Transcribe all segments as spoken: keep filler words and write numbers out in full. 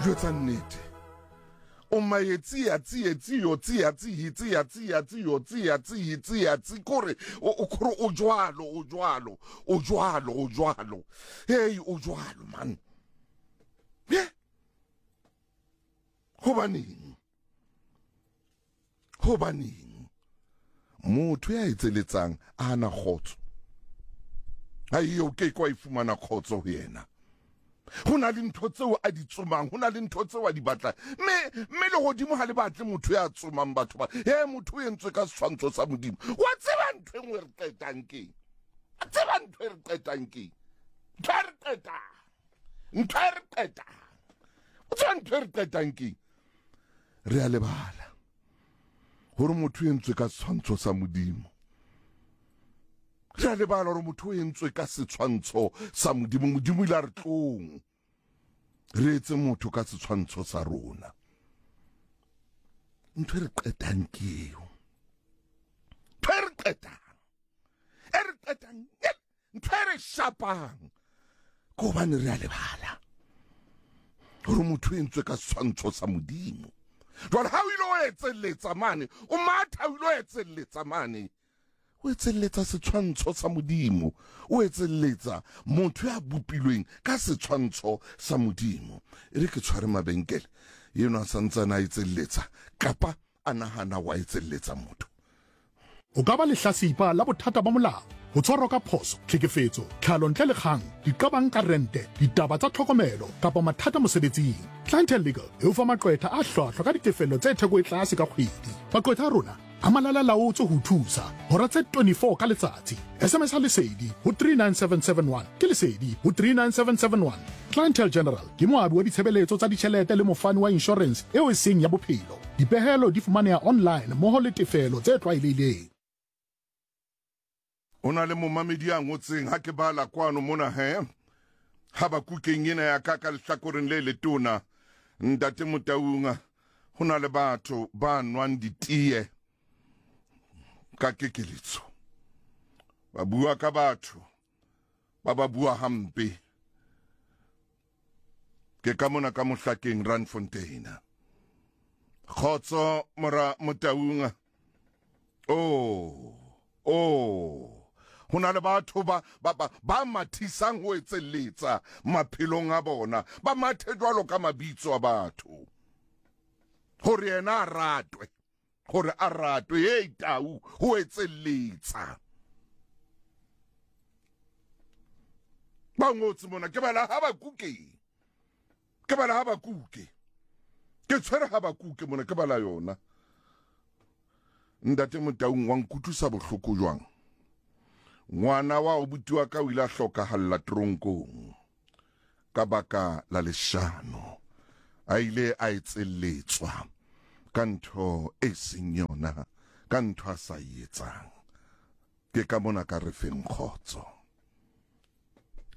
Jwetsa nnete. O maetsi ya tsietsi yo tsia tsi tsia tsia tsi yo tsia tsi tsia tsi kore o kore o jwalo o jwalo o jwalo o jwalo. Hey o jwalo man. Ye. Hobaneng? Hobaneng? Motho ya etseletsang a na kgotso. Ai o ke kwa ifumana kgotso ho yena. Ho na le ntho tseo a di tsomang, ho na le ntho tseo a di batlang. Mme mme le hodimo ha le batle motho ya tsomang batho ba. He motho o entswe ka setshwantsho sa Modimo. Wa tseba ntho e nngwe re qetang keng? Wa tseba ntho e re qetang keng? Ntho e re qetang. Ntho e re qetang. O tseba ntho e re qetang keng? Re a lebala hore motho o entswe ka setshwantsho sa Modimo. Re a lebala hore motho o entswe ka setshwantsho sa Modimo. Modimo ile a re tlong re etse motho ka setshwantsho sa rona. Ntho e re qetang ke eo. Ntho e re qetang. E re qetang. Ntho e re shapang. Ke hobane re a lebala hore motho o entswe ka setshwantsho sa Modimo. Jwale ha o ile o etselletsa mane, o matha o ile o etselletsa mane, o etselletsa setshwantsho sa Modimo, o etselletsa motho ya bopilweng ka setshwantsho sa Modimo. E re ke tshware mabenkele eno a santsane a etselletsa kapa a nahana wa etselletsa motho. O ka ba lehlasipa la bothata ba molao, ho tshwarwa ka phoso, tlhekefetso, tlhalo ntle le kgang, diqabang ka rente, ditaba tsa tlhokomelo kapa mathata mosebetsing. Clientele Legal e o fa maqwetha a hlwahlwa ka ditefello tse theko e tlase ka kgwedi. Maqwetha a rona a malala laotswe ho thusa hora tse twenty-four ka letsatsi. S M S a Lesedi ho three nine seven seven one ke Lesedi ho three nine seven seven one. Clientele General ke moabi wa ditshebeletso tsa ditjhelete le mofani wa insurance eo e seng ya bophelo. Dipehelo di fumaneha online mmoho le tefelo tse tlwaelehileng. O na le momamedi ya ngotseng ha ke bala kwano mona he ha ba kukeng ena ya ka ka lehlakoreng le letona ntate Motaung, ho na le batho ba nwang ditee ka kekeletso, ba bua ka batho ba ba bua hampe. Ke ka mona ka Mohlakeng Randfontein. Kgotso mora Motaung. Oh oh ho na le batho ba ba ba mathisang ho etselletsa maphelong a bona, ba mathe jwalo ka mabitso a batho hore yena a ratwe, hore a ratwe. Hey tau ho etselletsa. Ba ngotse mona ke bala ha ba kuke, ke bala ha ba kuke, ke tshwere ha ba kuke mona ke bala yona. Ntate Motaung wa nkutlwisa bohloko jwang? Ngwana wa obuti wa ka o ile a hlokahalla tronkong ka baka la leshano. A ile a etselletswa ka ntho e seng yona, ka ntho a sa e etsang. Ke ka mona ka re feng kgotso.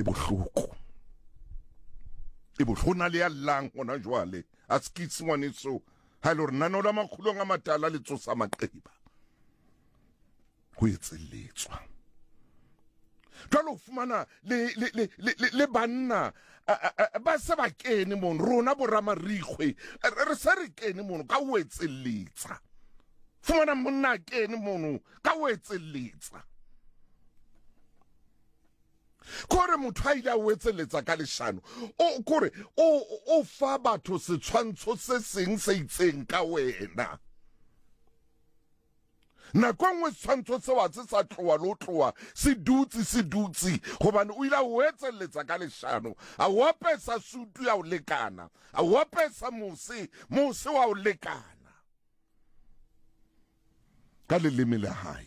E bohloko. E bohloko na le ya llang hona jwale. A skitse ngwaneso ha le hore nano la makgulong a matala le tsosa maqeba. Ho etselletswa. Jwale o fumana le le le le le banna ba se ba kene mono, rona bo ramarikgwe re se re kene mono ka ho etselletsa. Fumana monna a kene mono ka ho etselletsa. Kore motho a ile a o etselletsa ka leshano, o kore o o fa batho setshwantsho se seng se itseng ka wena. Nako e nngwe setshwantsho seo ha se sa tloha le ho tloha, se dutse se dutse hobane o ile a o etselletsa ka leshano, a o apesa sutu ya o lekana, a o apesa mose, mose wa o lekana ka leleme la hae.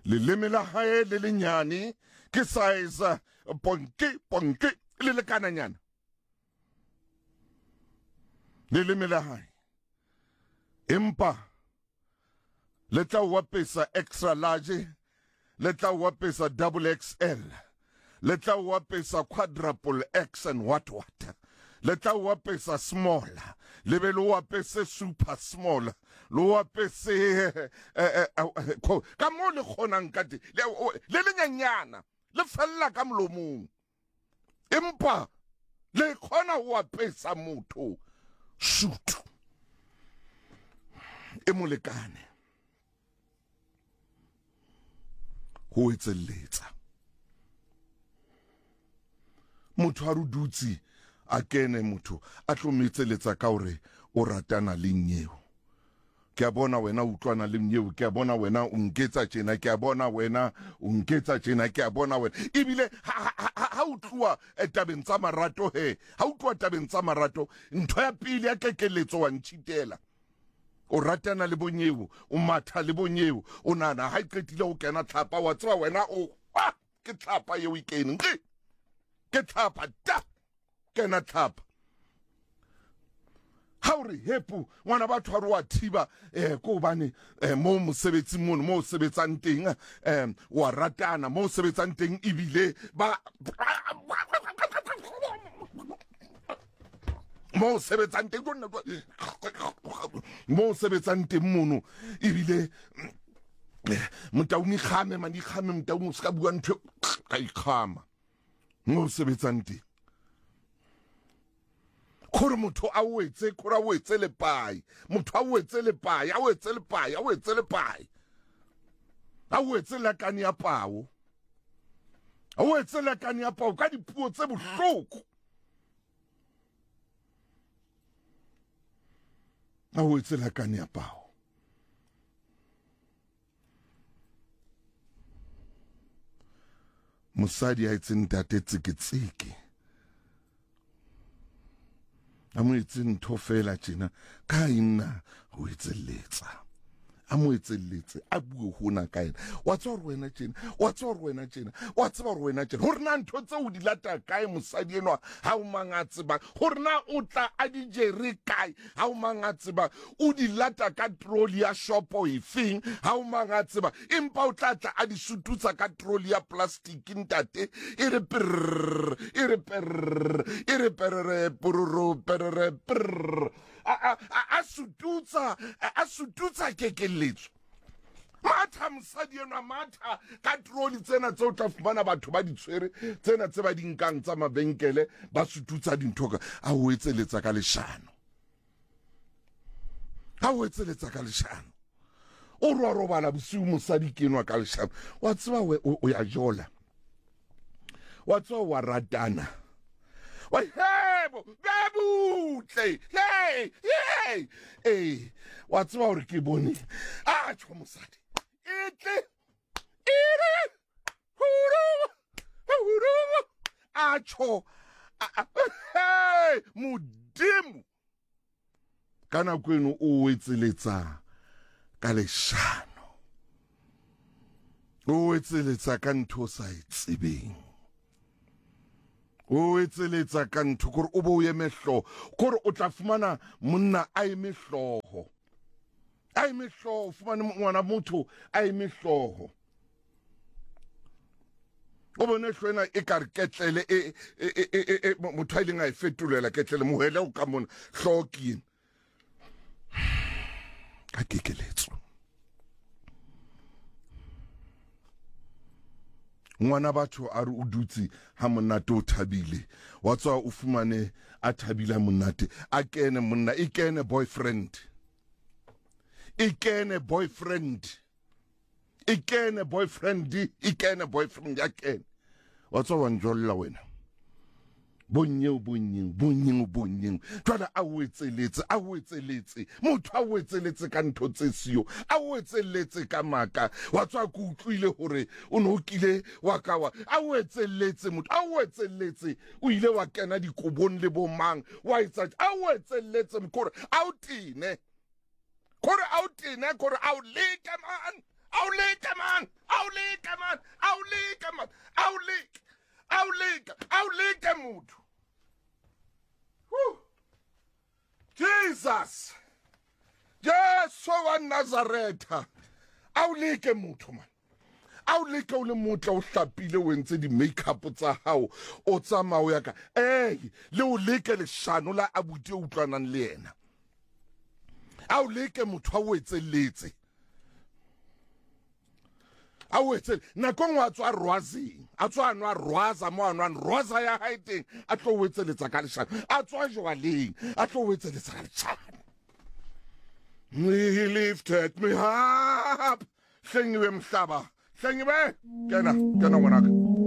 Leleme la hae le lenyane ke size ponke ponke le lekananyana. Leleme la hae empa le tla o apesa extra large, le tla o apesa double X L, le tla o apesa quadruple X and what what, le tla o apesa small, le be le o apese super small, le o apese ka mo le kgonang ka teng, le lenyenyana le fella ka molomong, empa Le kgona ho apesa motho sutu e molekane ho etselletsa motho a re dutse a kene motho a tlo metseletsa ka hore o ratana le nyeo. Ke a bona wena o utlwana le nyeo, ke a bona wena o nketsa tjena, ke a bona wena o nketsa tjena, ke a bona wena. Ebile ha o tloha tabeng tsa marato he, ha o tloha tabeng tsa marato, ntho ya pele ya kekeletso wa ntshitela. O ratana le bonyeo, o matha le bonyeo, o nana ha e qetile ho kena tlhapa, wa tseba wena o ke tlhapa eo e keneng. Ke tlhapa ta kena tlhapa. Ha o re hepo ngwana batho a re wa thiba eh ko hobane mo mosebetsing mono mo sebetsang teng eh wa ratana mo sebetsang teng ebile ba mo sebetsang teng mo sebetsang teng mono ebile motaung ikgame man ikgame motaung o ska bua ntho ka ikgama mo sebetsang teng. Khore motho a wetse khore a wetse lepai motho a wetse lepai a wetse lepai a wetse lepai a wetse lakane ya pao a wetse lakane ya pao ka dipuo tse bohloko a wetse lakane ya pao. Mosadi a etse ntate tseketseke a mo etse ntho fela tjena ka inna ho etselletsa a mo etselletse a bue hona ka yena wa tseba hore wena tjena wa tseba hore wena tjena wa tseba hore wena tjena hore na ntho tseo di lata kae mosadi enwa ha o mang a tsebang hore na o tla a di jere kae ha o mang a tsebang o di lata ka trolley ya shopo efeng ha o mang a tsebang empa o tla tla a di sututsa ka trolley ya plastic ntate e re prr e re prr e re prr prr prr prr a a sututsa a sututsa kekeletso matha mosadi enwa matha ka trolley tsena tseo tla fumana batho ba di tshwere tsena tse ba di nkang tsa mabenkele ba sututsa dintho ka a o etseletsa ka leshano a o etseletsa ka leshano o rwa robala bosiu mosadi ke enwa ka leshano wa tseba o ya jola wa tseba wa ratana wa hebo bebutle hey hey eh wa tseba hore ke bone a tjho mosadi etle ire huru huru a tjho hey modimo ka nako eno o etseletsa ka leshano o etseletsa ka ntho sa e tsebeng o etseletsa ka ntho kore o bo o eme hlooho kore o tla fumana monna a eme hlooho a eme hlooho fumane ngwana motho a eme hlooho o bone hlooho ena e ka re ketlele e e motho a ileng a e fetolela ketlele mohele o ka mona hlooho ke ena ka kekeletso. Ngwana batho a re o dutse ha monate o thabile wa tswa o fumane a thabile monate a kene monna e kene boyfriend e kene boyfriend e kene boyfriend e kene boyfriend ya kene wa tswa wa njolla wena bonyeo bonyeo bonyeo bonyeo jwale a o etseletse a o etseletse motho a o etseletse ka ntho tse siyo a o etseletse ka maka wa tswa ke utlwile hore o no kile wa ka wa a o etseletse motho a o etseletse o ile wa kena dikobong le bo mang wa etsa a o etseletse mkhore a o tene khore a o tene khore a o leke man a o leke man a o leke man a o leke man a o leke a o leke a o leke motho. Jesus Jesu wa Nazaretha a o leke motho man a o leke o le motla o hlapile o entse di-makeup tsa hao o tsamaya o ya ka ee le o leke leshano la abuti o utlwanang le yena a o leke motho a o etselletse A o etse nako nngwe a tswa rwazeng, a tswa a nwa rwaza mo a nwang rwaza ya hae teng, a tlo o etseletsa ka leshano, a tswa jwaleng, a tlo o etseletsa ka leshano. He lifted me up. Hlengiwe mhlaba, hlengiwe, kena, kena ngwanaka.